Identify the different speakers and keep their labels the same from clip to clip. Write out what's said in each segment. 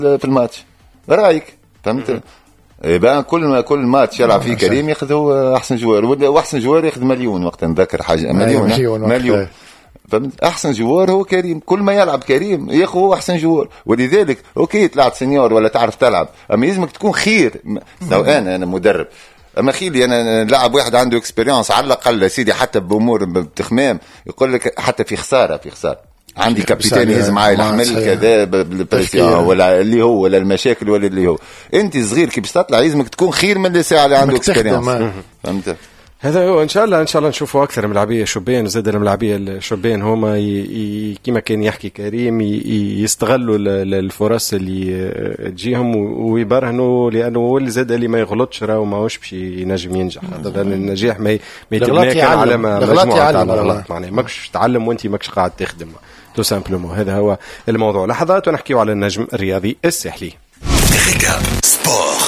Speaker 1: في الماتش رايك، فهمت؟ إيه، كل ماتش يلعب فيه كريم ياخذ هو احسن joueur، واحسن joueur ياخذ مليون وقت نذكر حاجه، مليون مليون، مليون، فهمت؟ احسن joueur هو كريم، كل ما يلعب كريم ياخذ هو احسن joueur. ولذلك OK طلعت senior ولا تعرف تلعب، اما يلزمك تكون خير. لو انا مدرب، اما خيلي انا لاعب واحد عنده expérience على الاقل سيدي، حتى بامور بتخمام يقول لك حتى في خساره، في خسارة عندي capitaine يهز معايا الحمل كذا بال pression ولا اللي هو ولا المشاكل ولا اللي هو. انت صغير كي باش تطلع لازمك تكون خير من اللي ساعة اللي عنده expérience، فهمت؟
Speaker 2: هذا هو. ان شاء الله ان شاء الله نشوفوا اكثر ملاعبيه شبان، زاد الملاعبيه الشبان هما كما كان يحكي كريم يستغلوا الفرص اللي تجيهم ويبرهنوا، لانه هو اللي زاد اللي ما يغلطش راهو ماهوش باش ينجم ينجح. لان النجاح ما يتبنى كان على مجموعة تاع الغلط، معناها ماكش تتعلم وانت ماكش قاعد تخدم tout simplement. هذا هو الموضوع. لحظات ونحكيو على النجم الرياضي الساحلي. Récap Sport،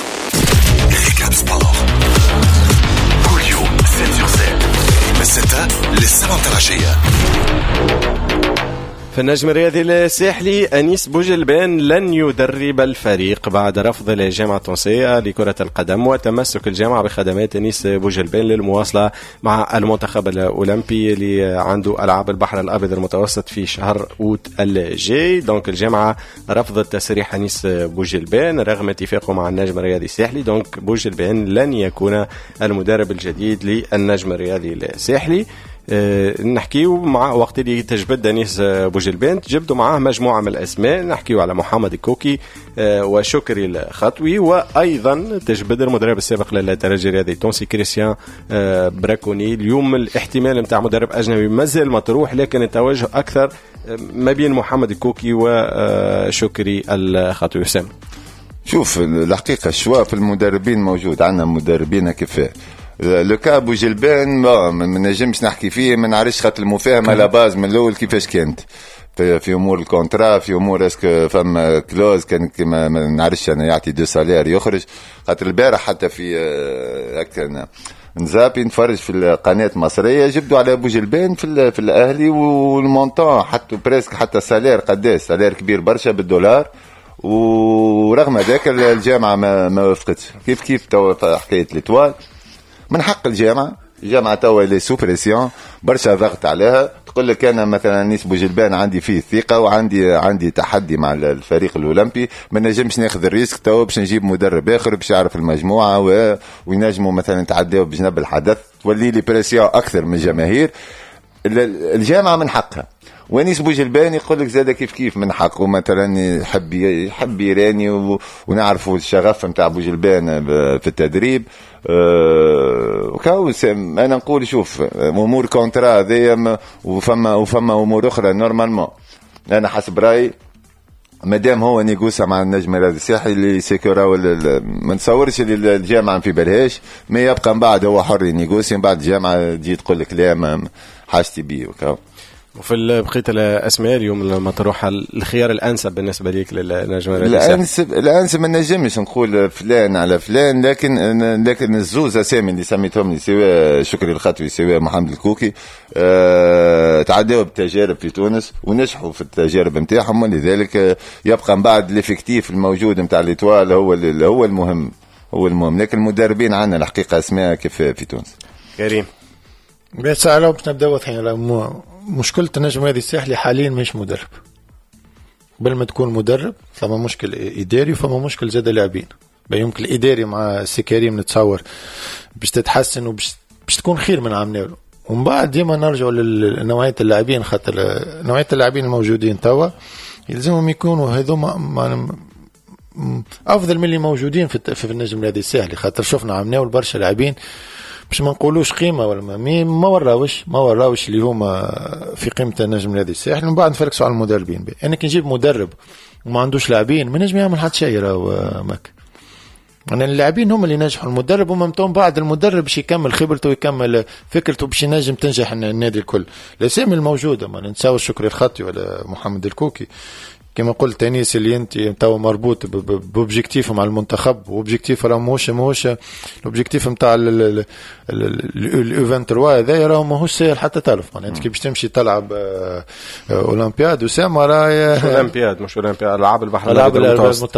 Speaker 2: Récap Sport كل يوم 7 sur 7 من 6 ل 7 العشية. في النجم الرياضي الساحلي، أنيس بوجلبان لن يدرب الفريق بعد رفض الجامعة التونسية لكرة القدم وتمسك الجامعة بخدمات أنيس بوجلبان للمواصلة مع المنتخب الأولمبي اللي عنده ألعاب البحر الأبيض المتوسط في شهر أوت الجاي. donc الجامعة رفضت تسريح أنيس بوجلبان رغم اتفاقه مع النجم الرياضي الساحلي. donc بوجلبان لن يكون المدرب الجديد للنجم الرياضي الساحلي. نحكيو مع وقت اللي تجبد انيس بوجلبان تجبدوا معاه مجموعة من الاسماء، نحكيو على محمد الكوكي وشكري الخطوي، وايضا تجبد المدرب السابق للترجي الرياضي التونسي كريستيان براكوني. اليوم الاحتمال نتاع مدرب اجنبي مازال مطروح، لكن التوجه اكثر ما بين محمد الكوكي وشكري الخطوي. وسام.
Speaker 1: شوف، الحقيقة ال choix في المدربين موجود، عندنا مدربين كفاء. le cas بوجلبان ما نجمش نحكي فيه، ما نعرفش خاطر المفاهمه la base من الاول كيفاش كانت في امور ال contrat، في امور est-ce que فما clause كان كما ما نعرفش انا يعطي deux salaires يخرج. خاطر البارح حتى في هكا نزابي نتفرج في القناة المصريه، جبدوا على بوجلبان في الاهلي وال montant حتى presque حتى salaire قداش، salaire كبير برشا بالدولار، ورغم ذاك الجامعة ما وافقتش. كيف كيف توا حكاية l'Étoile، من حق الجامعه، الجامعة توا elle est sous pression، برشا ضغط عليها. تقول لك انا مثلا انيس بوجلبان عندي فيه ثقة وعندي تحدي مع الفريق الاولمبي، ما نجمش ناخذ ال risque توا باش نجيب مدرب اخر باش يعرف المجموعة وينجموا مثلا يتعداو بجنب الحدث، تولي لي pression اكثر من الجماهير. الجامعة من حقها، وانيس بوجلبان يقول لك زاد كيف كيف من حقه، مثلا يحب يراني ونعرفوا الشغف نتاع بوجلبان في التدريب. وكاو انا نقول شوف، امور contrat هذيا وفما امور اخرى. normalement انا حسب رايي مادام هو négocia مع النجم الرياضي الساحلي اللي سيكورا، ما نتصورش اللي الجامعة في بالهاش، ما يبقى من بعد هو حر négocier، من بعد الجامعة تجي تقول لك لا ما حاجتي بيه وكاو.
Speaker 2: وفي بقية الاسماء اليوم المطروحه، الخيار الانسب بالنسبة لك للنجم؟
Speaker 1: الانسب ما نجمش نقول فلان على فلان، لكن الزوز اسامي اللي سميتهم لي، سواء شكري الخطوي سواء محمد الكوكي، تعداوا بتجارب في تونس ونجحوا في التجارب نتاعهم، ولذلك يبقى من بعد l'effectif الموجود نتاع l'Étoile هو المهم، هو المهم. لكن المدربين عندنا الحقيقة اسماء كيف في تونس.
Speaker 2: كريم.
Speaker 3: بس على باش نبداو واضحين، مشكلة النجم هذه الساحلي حاليا مش مدرب. قبل ما تكون مدرب فما مشكل اداري وفما مشكل زاد لاعبين. يمكن الاداري مع سي كريم نتصور باش تتحسن وباش باش تكون خير من عام، ومن بعد ديما نرجعوا لنوعيه اللاعبين، خاطر نوعية اللاعبين الموجودين توا يلزمهم يكونوا هذوما افضل من اللي موجودين في النجم الرياضي الساحلي، خاطر شفنا عام برشا لاعبين باش ما نقولوش قيمة ولا ما وراوش اللي هما في قيمة النجم الرياضي الساحلي. ومن بعد نفركسوا على المدربين. انا كي نجيب مدرب وما عندوش لاعبين ما نجم يعمل حتى شيء. راهو ماك يعني اللاعبين هم اللي نجحوا المدرب، ومن بعد المدرب باش يكمل خبرته ويكمل فكرته باش ينجم تنجح النادي الكل. الاسامي الموجوده، ما ننساوش شكري الخطي ولا محمد الكوكي. كما قلت انيس، اللي انت تو مربوط ب objectif مع المنتخب، و objectif راه ماهوش ال objectif نتاع ال U 23 هذا، راه ماهوش ساهل حتى تعرف. معناها انت كي باش تمشي تلعب اولمبياد اسامه، راه
Speaker 2: اولمبياد، مش اولمبياد، العاب البحر
Speaker 3: العاب المتوسط.